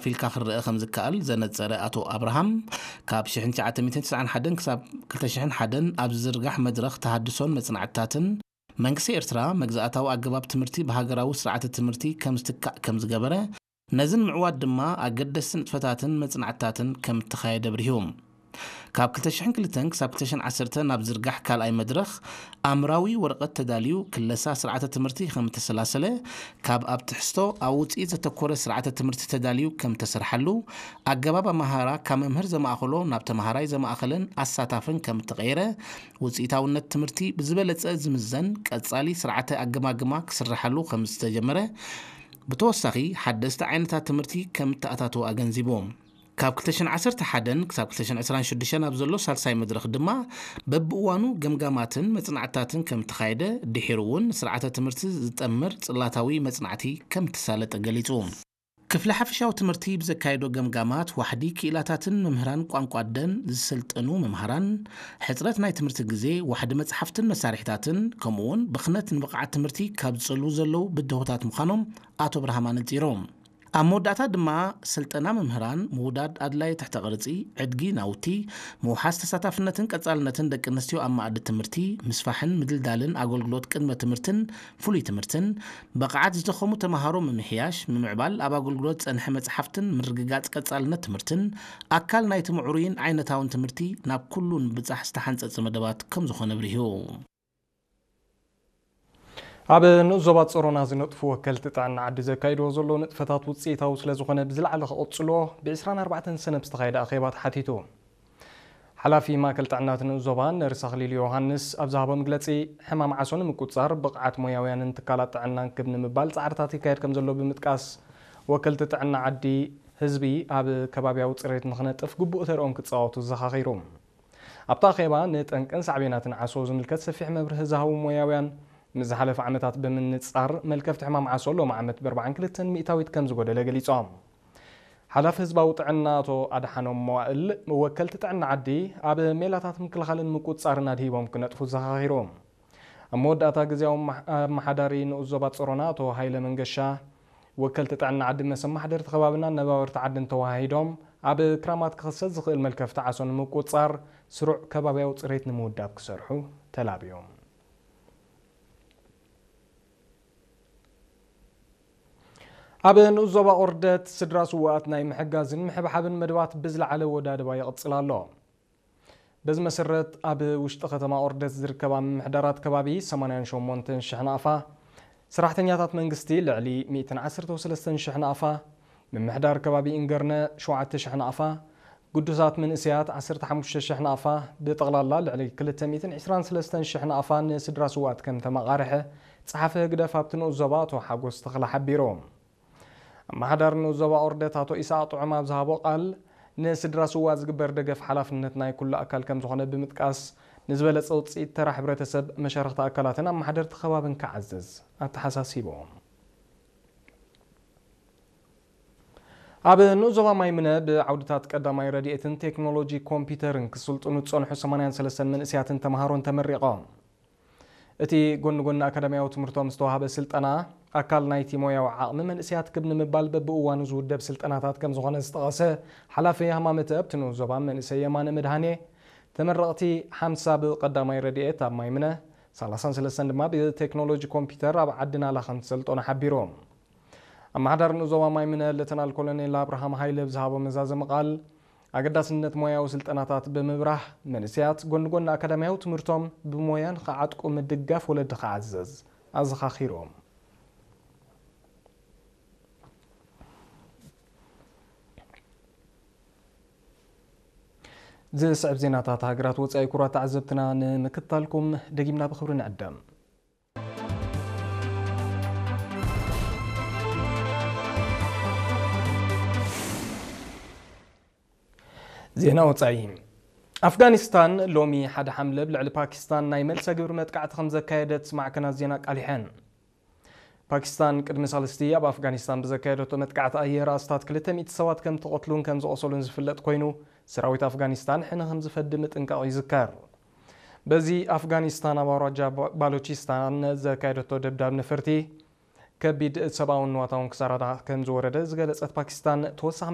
ፊልካ ክረአ ከም ዝከኣል ዘነጸረ ኣቶ ኣብርሃም፣ ካብ ሽሕን ትሽዓተ ሚእትን ትስዓን ሓደን ክሳብ ክልተ ሽሕን ሓደን ኣብ ዝዝርጋሕ መድረኽ ተሃድሶን መጽናዕትታትን፣ መንግስቲ ኤርትራ መግዛእታዊ ኣገባብ ትምህርቲ ብሃገራዊ ስርዓተ ትምህርቲ ከም ዝትካእ ከም ዝገበረ፣ ነዚ ንምዕዋት ድማ ኣገደስቲ ንጥፈታትን መጽናዕትታትን ከም እተኻየደ ኣብሪሁ። ካብ ክልተ ሽሕን ክልተን ክሳብ ክልተ ሽሕን ዓሰርተ ናብ ዝርጋሕ ካልኣይ መድረኽ ኣምራዊ ወረቐት ተዳልዩ ክለሳ ስርዓተ ትምህርቲ ከም እተሰላሰለ፣ ካብ ኣብ ትሕዝቶ ኣብ ውጽኢት ዘተኮረ ስርዓተ ትምህርቲ ተዳልዩ ከም እተሰርሓሉ፣ ኣገባብ ኣመሃህራ ካብ መምህር ዘማእኸሎ ናብ ተመሃራይ ዘማእኸለን ኣሳታፍን ከም እተቐየረ፣ ውጽኢታውነት ትምህርቲ ብዝበለጸ ዝምዘን ቀጻሊ ስርዓተ ኣገማግማ ክስርሓሉ ከም ዝተጀመረ፣ ብተወሳኺ ሓደስቲ ዓይነታት ትምህርቲ ከም እተኣታተወ ኣገንዚቡ። ካብ ክልተ ሽሕን ዓሰርተ ሓደን ክሳብ ክልተ ሽሕን ዕስራን ሽዱሽተን ኣብ ዘሎ ሳልሳይ መድረኽ ድማ በብእዋኑ ገምጋማትን መጽናዕትታትን ከም እተኻየደ፣ ድሒሩ እውን ንስርዓተ ትምህርቲ ዝጠምር ጽላታዊ መጽናዕቲ ከም እተሳለጠ ገሊጹ። ክፍሊ ሓፈሻዊ ትምህርቲ ብዘካየዶ ገምጋማት፣ ዋሕዲ ክኢላታትን መምህራን ቋንቋ ኣደን ዝሰልጠኑ መምሃራን፣ ሕጽረት ናይ ትምህርቲ ግዜ፣ ዋሕዲ መጽሓፍትን መሳርሒታትን፣ ከምኡ'ውን ብኽነት ንብቕዓት ትምህርቲ ካብ ዝጸልዉ ዘለዉ ብድሆታት ምዃኖም ኣቶ ብርሃም ኣነጺሩ። ኣብ መወዳእታ ድማ፣ ስልጠና መምህራን፣ ምውዳድ ኣድላዪ ትሕተ ቅርጺ፣ ዕድጊ ናውቲ፣ ምውሓስ ተሳታፍነትን ቀጻልነትን ደቂ ኣንስትዮ ኣብ መኣዲ ትምህርቲ፣ ምስፋሕን ምድልዳልን ኣገልግሎት ቅድመ ትምህርትን ፍሉይ ትምህርትን፣ ብቕዓት ዝደኸሙ ተመሃሮ ምምሕያሽ፣ ምምዕባል ኣብ ኣገልግሎት ዝጸንሐ መጽሓፍትን ምርግጋጽ ቀጻልነት ትምህርትን ኣካል ናይቲ ምዕሩይን ዓይነታውን ትምህርቲ ናብ ኩሉ ንምብጻሕ ዝተሓንጸጸ መደባት ከም ዝኾነ ኣብሪሁ። ኣብ ንኡስ ዞባ ጾሮና ዝነጥፉ ወከልቲ ጥዕና ዓዲ ዘካይድዎ ዘለዉ ንጥፈታት ውጽኢታዊ ስለ ዝኾነ ብዝለዓለ ክቕጽልዎ ብ ዕስራን ኣርባዕተን ሰነ ብዝተኻየደ ኣኼባ ተሓቲቱ። ሓላፊ ማእከል ጥዕና እቲ ንኡስ ዞባ ነርስ ኣኽሊሉ ዮሃንስ ኣብ ዝሃቦ መግለጺ፣ ሕማም ዓሶ ንምቁጽጻር ብቕዓት ሞያውያንን ትካላት ጥዕናን ክብ ንምባል ጻዕርታት ይካየድ ከም ዘሎ ብምጥቃስ፣ ወከልቲ ጥዕና ዓዲ ህዝቢ ኣብ ከባብያዊ ጽሬት ንኽነጥፍ ግቡእ ተርኦም ክጻወቱ ዘኻኺሩ። ኣብቲ ኣኼባ ንጠንቅን ሳዕቤናትን ዓሶ ዝምልከት ሰፊሕ መብርሂ ዝሃቡ ሞያውያን፣ ምስ ዝሓለፈ ዓመታት ብምንጻር መልከፍቲ ሕማም ዓሶ ሎሚ ዓመት ብ ኣርባዓን ክልተን ሚእታዊት ከም ዝጎደለ ገሊጾም። ሓላፊ ህዝባዊ ጥዕና ኣቶ ኣድሓኖም መዋእል፣ ወከልቲ ጥዕና ዓዲ ኣብ ሜላታት ምክልኻልን ምቁጽጻርን ኣድሂቦም ክነጥፉ ዘኻኺሩ። ኣብ መወዳእታ ግዜያዊ ኣመሓ-፣ ኣመሓዳሪ ንኡስ ዞባ ጾሮና ኣቶ ሃይለ መንገሻ፣ ወከልቲ ጥዕና ዓዲ ምስ ኣመሓደርቲ ከባብን ኣነባበርቲ ዓድን ተወሃሂዶም፣ ኣብ ክራማት ክኽሰት ዝኽእል መልከፍቲ ዓሶ ንምቁጽጻር ስሩዕ ከባብያዊ ጽሬት ንምውዳብ ክሰርሑ ተላብዮም። ኣብ ንኡስ ዞባ ኦርደት ስድራ ስዉኣት ናይ ምሕጋዝን ምሕብሓብን መደባት ብዝለዓለ ወዳድባ ይቕጽል ኣሎ። በዚ መሰረት፣ ኣብ ውሽጢ ከተማ ኦርደት ዝርከባ ምምሕዳራት ከባቢ ሰማንያን ሸሞንተን ሽሕ ናቕፋ፣ ሰራሕተኛታት መንግስቲ ልዕሊ ሚእትን ዓሰርተን ሰለስተን ሽሕ ናቕፋ፣ ምምሕዳር ከባቢ ኢንገርነ ሸውዓተ ሽሕ ናቕፋ፣ ግዱሳት መንእሰያት ዓሰርተ ሓሙሽተ ሽሕ ናቕፋ፣ ብጠቕላላ ልዕሊ ክልተ ሚእትን ዕስራን ሰለስተን ሽሕ ናቕፋ ንስድራ ስውኣት ከም ተመቓርሐ ጸሓፊ ህግደፍ ኣብቲ ንኡስ ዞባ ኣቶ ሓጎስ ተኽለ ሓቢሩ። ኣመሓዳሪ ንኡስ ዞባ ኦርደት ኣቶ ኢሳቕ ጥዑም ኣብ ዝሃቦ ቃል፣ ንስድራ ስውኣት ዝግበር ደገፍ ሓላፍነት ናይ ኩሉ ኣካል ከም ዝኾነ ብምጥቃስ፣ ንዝበለጸ ውጽኢት ተራ ሕብረተሰብ፣ መሻርኽቲ ኣካላትን ኣመሓደርቲ ከባብን ክዓዝዝ ኣተሓሳሲቡ። ኣብ ንኡስ ዞባ ማይምነ ብዓውድታት ቀዳማይ ረድኤትን ቴክኖሎጂ ኮምፒውተርን ክስልጥኑ ዝጸንሑ ሰማንያን ሰለስተን መንእሰያትን ተምሃሮን ተመሪቖም። እቲ ጎኒ ጎኒ ኣካዳሚያዊ ትምህርቶም ዝተዋህበ ስልጠና፣ ኣካል ናይቲ ሞያዊ ዓቕሚ መንእሰያት ክብ ንምባል በብእዋኑ ዝውደብ ስልጠናታት ከም ዝኾነ ዝጠቐሰ ሓላፊ ሃማመተ ኣብቲ ንኡስ ዞባ መንእሰይ የማነ መድሃኔ፣ ተመረቕቲ ሓምሳ ብቐዳማይ ረድኤት ኣብ ማይምነ፣ ሰላሳን ሰለስተን ድማ ብቴክኖሎጂ ኮምፒውተር ኣብ ዓዲ ናላ ከም ዝሰልጠኑ ሓቢሩ። ኣመሓዳሪ ንኡስ ዞባ ማይምነ ሌተናል ኮሎኔል ኣብርሃም ሃይለ ብዝሃቦ መዛዘሚ ቃል፣ ኣገዳስነት ሞያዊ ስልጠናታት ብምብራህ፣ መንእሰያት ጎኒ ጎኒ ኣካዳሚያዊ ትምህርቶም ብሞያ ንኽዓጥቁ ምድጋፍ ወለዲ ክዓዘዝ ኣዘኻኺሮም። ዝስዕብ ዜናታት ሃገራት ወጻኢ፣ ክቡራት ተዓዘብትና፣ ንምክትታልኩም ደጊምና ብኽብሪ ንዕደም። ዜና ወጻኢ። ኣፍጋኒስታን ሎሚ ሓደ ሓምለ ኣብ ልዕሊ ፓኪስታን ናይ መልሰ ግብሪ መጥቃዕቲ ከም ዘካየደት ማዕከናት ዜና ኣቃሊሐን። ፓኪስታን ቅድሚ ሳልስቲ ኣብ ኣፍጋኒስታን ብዘካየደቶ መጥቃዕቲ ኣየር ኣስታት ክልተ ሚእቲ ሰባት ከም ተቐትሉን ከም ዝቖሰሉን ዝፍለጥ ኮይኑ፣ ሰራዊት ኣፍጋኒስታን ሕነ ከም ዝፈዲ ምጥንቃቑ ይዝከር። በዚ ኣፍጋኒስታን ኣብ ኣውራጃ ባ-፣ ባሎቺስታን ዘካየደቶ ደብዳብ ነፈርቲ፣ ከቢድ ሰብኣውን ንዋታውን ክሳራታት ከም ዝወረደ ዝገለጸት ፓኪስታን፣ ተወሳኺ